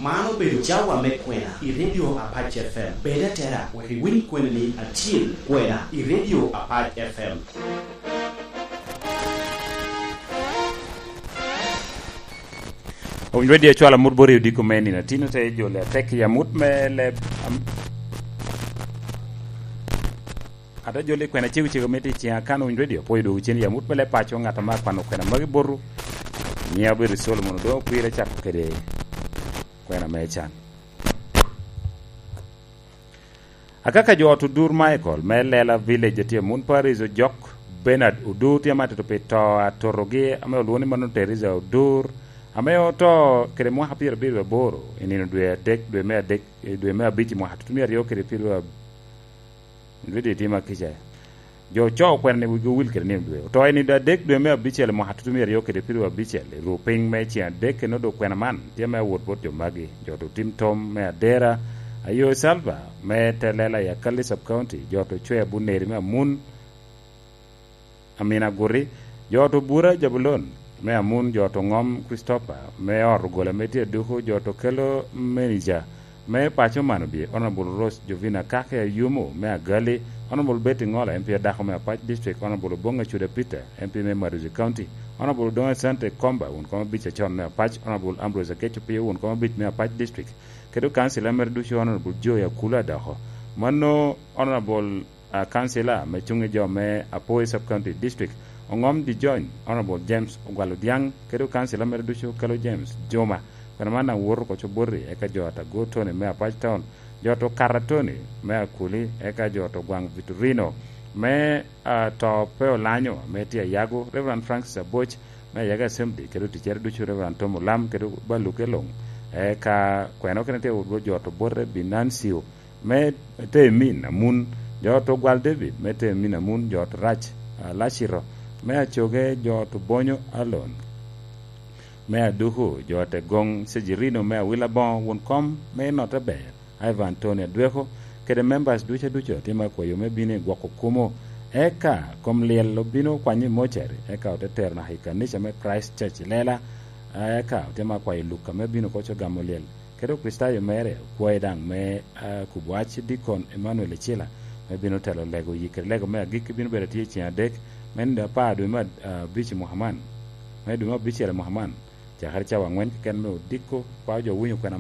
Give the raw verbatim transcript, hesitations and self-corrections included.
Man obedo cawa me kwena i Radio Apac F M. Bed atera wek iwiny kweni ni acil kwena i Radio Apac F M. Owinyo Radio cwalo amut bot i odiko me nino atino te jole atek i amut me leb am- Ata joli kwena cego cego mito i ciŋa kan Owinyo Radio, pwoyo dwogo cen i amut me leb paco, ŋat ame akwano kwena magi botu. Nyiŋa obedo Solomon Odongo, kwira cako kede kwena me can. Akaka jo ot Odur Michael me Lela Village, atye Amun Paris Ojok, Bernard Odur tye amatito pi to atotogi ame olwoŋo ni mano Teresa Odur, ame oto kede mwaka pyerabiro aboro i nino dwe adek, dwe me adek, dwe me abic i mwaka tutumia aryo kede pyerabiro Ridi tye ma kica. Jo ocoo kwena ni wigi owil kede nino dwe. Oto i nino adek dwe me abicel i mwaka tutumia aryo kede pyeraryo abicel, i ru piny me ceng adek, kede odo kwena man tye me awot bot jo magi. Jo to tim tom me Adera, Ayo Salva me Telela i Akali Sub County, jo to Cwea Buneri me Amun, Amina Guri, jo to Bura Jabulon me Amun, jo to Ŋom Christopher me ot ogola me tye Aduku, jo to kelo menija me paco man obye, Honorable Rose Jovina Kake Ayumo me Agali, Honorable Betty Ŋola, M P adako me Apac District, Honorable Oboŋ Acuda Peter, M P me Maduzi County, Honorable Odoŋo Asante Komba, wun kom abic acon me Apac, Honorable Ambrose Akeco Pio, wun kom abic me Apac District, kede kansila mere ducu, Honorable Joy Akula Adoko. Mano Honorable a, kansila me cuŋ i jo me Apoi Sub County District, Oŋom Dijony, Honorable James Ogwal Odiaŋ, kede kansila mere ducu, Kelo James Juma. Kwena man daŋ woto oko Coboti, eka jo ata Go Tony me Apac Town, jo to Kara Tony me Akuli, eka jo to Gwaŋ Victorino me, a, to pe olanyo, me tye Ayago, Reverend Francis Aboc me Ayago Assembly, kede oticere ducu, Reverend Tom Olam, kede Baluke Luŋ, eka kwena okene tye wot jo to Bote Binancio, me Temin Amun, jo to Gwal David, me Temin Amun, jo to Rac, a, Lacito, me Acoge, jo to Bonyo Alon, me Aduku, jo te Goŋ Cejirino, me Awila Boŋo, wun kom me Note Ber, Ivan Tony Adweko, kede members ducu aducu, tye ma kwayo me bino i gwoko kumo, eka kom lyel obino kwanyo i mocari, eka ote tero naka i kanica me Christ Church i Lela, eka otye ma kwayo Luka me bino koco gamo lyel. Kede Okricitayo mere okwae daŋ me, a, kubo wac, Dikon Emmanuel Ecila, me bino telo lego yi kede lego me agikki bino bedo atye i ceng adek, me nino apar dwe me, a, abic i mwaka man, me dwe me abicel i mwaka man, cakere cawa angwen keken me odiko, pa jo winyo kwena